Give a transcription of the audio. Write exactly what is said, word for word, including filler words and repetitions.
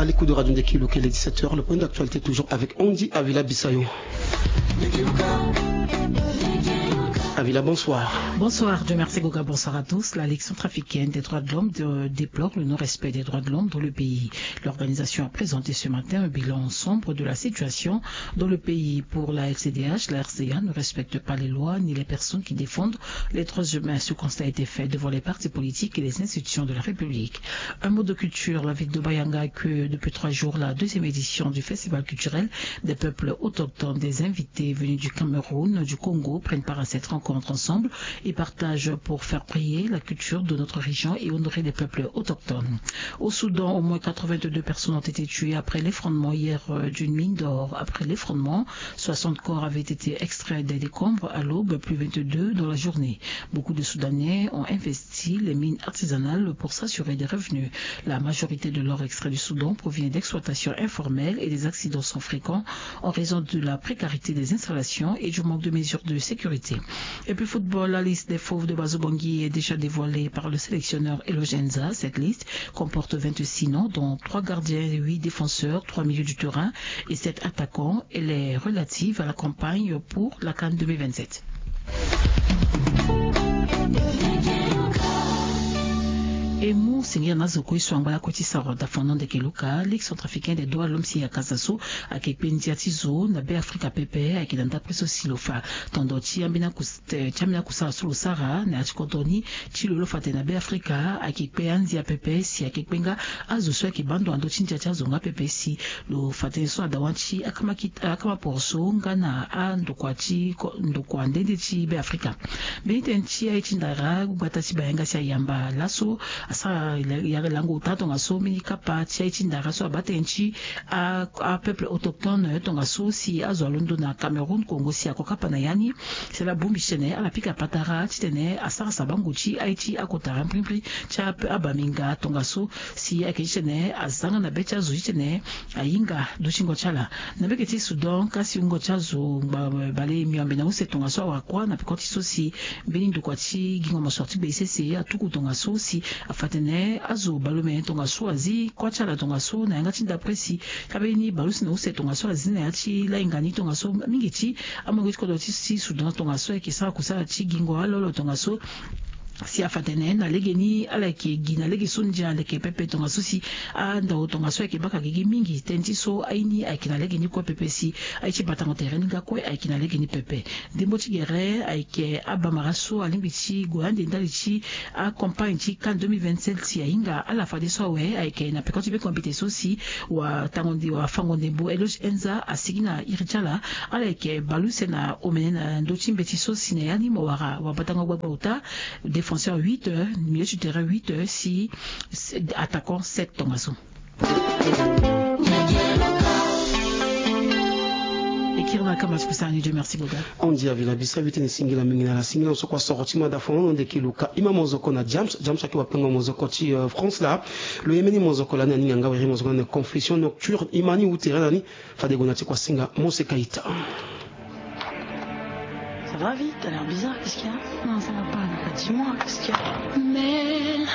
L'écoute de Radio Ndeki Loka, il est dix-sept heures, le point d'actualité toujours avec Andy Avila Bissayo. Avila, bonsoir. Bonsoir, Dieu merci, Goga, bonsoir à tous. La Ligue centrafricaine des droits de l'homme de- déplore le non-respect des droits de l'homme dans le pays. L'organisation a présenté ce matin un bilan sombre de la situation dans le pays. Pour la L C D H, la R C A ne respecte pas les lois ni les personnes qui défendent les droits humains. Ce constat a été fait devant les partis politiques et les institutions de la République. Un mot de culture. La ville de Bayanga accueille depuis trois jours la deuxième édition du festival culturel des peuples autochtones. Des invités venus du Cameroun, du Congo prennent part à cette rencontre. Ensemble, ils partagent pour faire briller la culture de notre région et honorer les peuples autochtones. Au Soudan, au moins quatre-vingt-deux personnes ont été tuées après l'effondrement hier, euh, d'une mine d'or. Après l'effondrement, soixante corps avaient été extraits des décombres à l'aube, puis vingt-deux dans la journée. Beaucoup de Soudanais ont investi les mines artisanales pour s'assurer des revenus. La majorité de l'or extrait du Soudan provient d'exploitations informelles et des accidents sont fréquents en raison de la précarité des installations et du manque de mesures de sécurité. Et puis football, la liste des fauves de Bazo Bangui est déjà dévoilée par le sélectionneur Eloge Enza. Cette liste comporte vingt-six noms, dont trois gardiens, huit défenseurs, trois milieux du terrain et sept attaquants. Elle est relative à la campagne pour la CAN deux mille vingt-sept. E mu sengela na zo kue so angba lakue ti sara daa fano ndeke luka. Ligue centrafricaine des droits de l'homme si ayeke aza so ayeke kpe ndia ti zo na Beafrika pepe, ayeke na ndapre so si lo fa tondo ti ambeni akus- ti ambeni akusara so lo sara na ya ti kodro ni ti lo lo fa tene na Beafrika ayeke kpe andia pepe si ayeke kpe nga azo so ayeke baa ndo na ndö ti ndia ti azo nga pepe si lo fa tënë so ada wani ti akama ki- akama poro so nga na andokua ti ko- ndokua nde nde ti Beafrika. Mbeni tënë ti aye ti ndara gbata ti bayanga si ayamba laso asara yare lango ota tongaso mbeni kapa ti aye ti ndara so abaa tënë ti a- apeuple autochtone tongaso si azo alondo na Cameroun, Congo si ako kapa na ya ni. Si ala bongbi titene ala pika patara titene asara sabango ti aye ti akotara mbrimbri ti ape- abaminga tongaso si ayeke titene aza nga na be ti azo titene ahinga dutingo ti ala. Na mbege ti Soudan kasi wungo ti azo ngba bale miombe na use tongaso awara kuâ na peko ti so si mbeni ndokua ti gingo mosoro ti gbe sese atuku tongaso si afa tene azo bale ome tongaso azi kuâ ti ala tongaso na yanga ti ndapre si kabeni bale use na use tongaso azi na ya ti lahinga ni tongaso mingi ti amolenge ti kodro ti Soudan tongaso ayeke sara kusala ti gingo alolo tongaso si afa tene na lege ni ala yeke gi na lege so ndia aleke pepe tongaso si andao tongaso ayeke baka gigi mingi tënë ti so aye ni ayeke na lege ni kue pepe si aye ti batango tere ni nga kue ayeke na lege ni pepe. Ndembo ti gere ayeke abamara so alingbi ti gue ande ndali ti acampagne ti CAN deux mille vingt-sept si ahinga ala fadeso awe ayeke na peko ti be kombite so si watango nde wafango ndembo Eloge Enza asigi na iri ti ala. Ala yeke bale use na omene na ndö ti mbeti so si na ya ni mo wara wabatango gbagba ota défenseur huit, milieu ti terrain huit si attaquant sept tongaso. E kiri na kama ti kusala ni. Dieu merci Goga. Andy Avila Bissayo, tene singila mingi na ala singila so kua soro ti mada fono na ndeke luka. Ima mozoko na James, James ayeke wapengo mozoko ti France laa. Lo ye mbeni mozoko lani aninga nga weri mozoko lani na Confession nocturne. Ima ni wu tere lani. Fade gue na ti kua singa Mose Kaita. Ça va vite, t'as l'air bizarre, qu'est-ce qu'il y a ? Non, ça va pas, dis-moi, qu'est-ce qu'il y a ? Mais